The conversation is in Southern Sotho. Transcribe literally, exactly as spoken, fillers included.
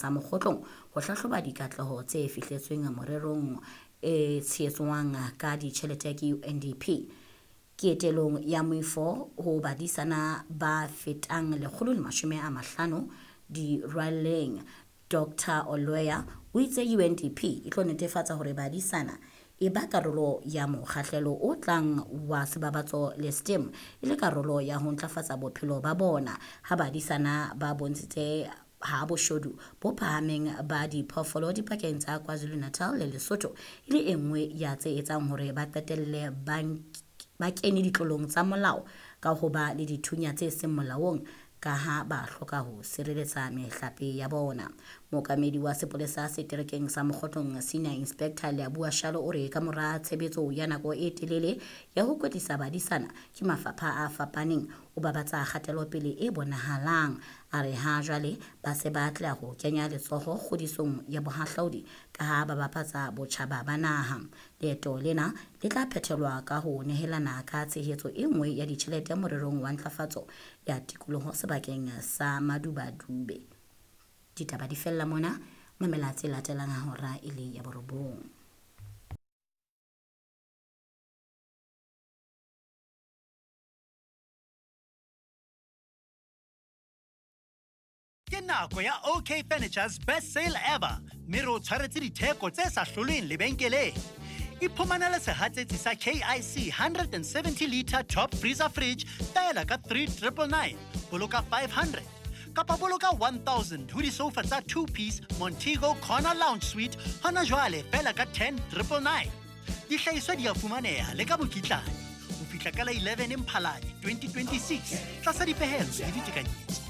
Sa Mokgotlong ho hlahloba dikatleho tse fihletsweng morerong e tshehetswang ka ditjhelete ke U N D P. Ketelong ya moifo ho badisana ba fetang lekgolo le mashome a mahlano dirwalleng, Doctor Oloya o itse U N D P e tlo netefatsa hore badisana e ba karolo ya mokgahlelo o tlang wa sebabatso le STEM e le karolo ya ho ntlafatsa bophelo ba bona, ha badisana ba bontshitse ha boshodu bo phahameng ba diphoofolo dipakeng tsa KwaZulu-Natal le Lesotho e le e nngwe ya tse etsang hore ba qetelle ba kene ditlolong tsa molao ka ho ba le dithunya tse seng molaong ka ha ba hloka ho sireletsa mehlape ya bona. Mookamedi wa sepolesa seterekeng sa Mokgotlong, Senior Inspector Leabua Shalo, o re ka mora tshebetso ya nako e telele ya ho kwetlisa badisana ke mafapha a fapaneng, o babatsa kgatelopele e bonahalang. A re ha jwale ba se ba atleha ho kenya letsoho kgodisong ya bohahlaudi ka ha ba bapatsa botjhaba ba naha. Leeto lena le tla phethelwa ka ho nehelana ka tshehetso e nngwe ya ditjhelete morerong wa ntlafatso ya tikoloho sebakeng sa Madubadube. Ditaba di fella mona. Mamela tse latelang ha hora e le ya borobong. Ke nako ya O K Furniture's best sale ever, mme re o tshwaretse ditheko tse sa hlolweng lebenkeleng. Iphumanele sehatsetsi sa K I C one hundred seventy litre top freezer fridge feela ka three thousand nine hundred nine, boloka five hundred, kapa boloka one thousand ho disofa tsa two piece Montego Corner Lounge Suite hona jwale feela ka ten thousand nine hundred nine. Dihlahiswa di a fumaneha le ka mokitlane ho fihla ka la eleven Mphalane twenty twenty-six tlasa dipehelo le ditekanyetso.